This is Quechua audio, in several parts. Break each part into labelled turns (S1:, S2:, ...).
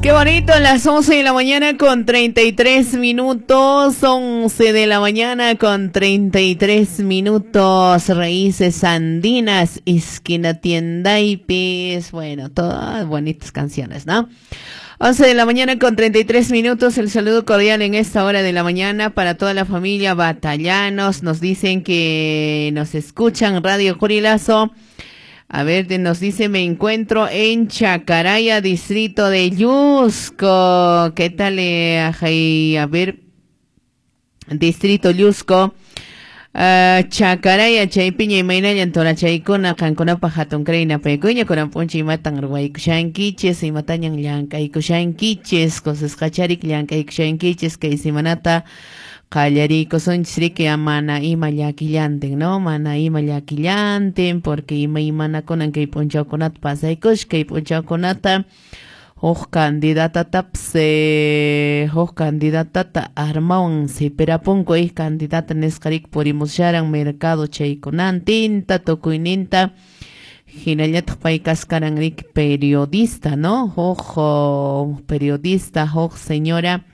S1: Qué bonito, las 11 de la mañana con 33 minutos, 11 de la mañana con 33 minutos, Raíces Andinas, esquina tienda y pis, bueno, todas bonitas canciones, ¿no? 11 de la mañana con 33 minutos, el saludo cordial en esta hora de la mañana para toda la familia Batallanos, nos dicen que nos escuchan Radio Curilazo. A ver, nos dice, me encuentro en Chacaraya, distrito de Llusco. ¿Qué tal? A ver, distrito Llusco. Chacaraya, chaypiña imaynallan torachaykuna, qankunapaq hatun krayna paykuña, kunan p'unchay imatan ruwaykushankichis, imatañan llank'aykushankichis, kusisqacharik llank'aykushankichis, kay semanata qallariykusunchis riki mana ima llakillantin, ¿no? Mana ima llakillantin, porque imaymanakunan kay p'unchawkunata pasaykush, kay p'unchawkunata huk candidatatapas huk candidatata armawan sipirapunku, candidata nisqa riki purimusharan mercado chaykunantinta tukuyninta, hinallataq pay kaskaran riki periodista, ¿no? Huk periodista, huk señora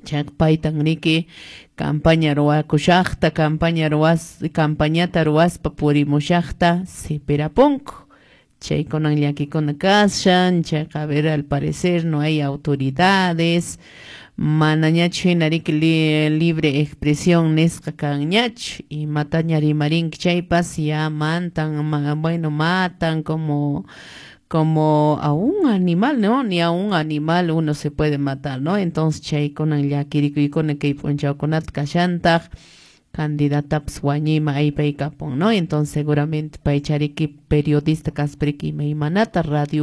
S1: chayqa paytan riki campaña ruwakushaqta, campaña ruwas, campañata ruwaspa purimushaqta sipirapunku. Chaykunan llakikuna kashan, chayqa a ver, al parecer no hay autoridades, manañachu hina riki libre expresión nisqa kanñachu, imataña rimarinki chaypas ya mantan, bueno, matan como a un animal, ¿no? Ni a un animal uno se puede matar, ¿no? Entonces chaykunan llakirikuykuna kay p'unchawkunata kashantaq, candidatapas wañuyman aypaykapun, ¿no? Entonces seguramente paychariki periodista kaspariki imaymanata radio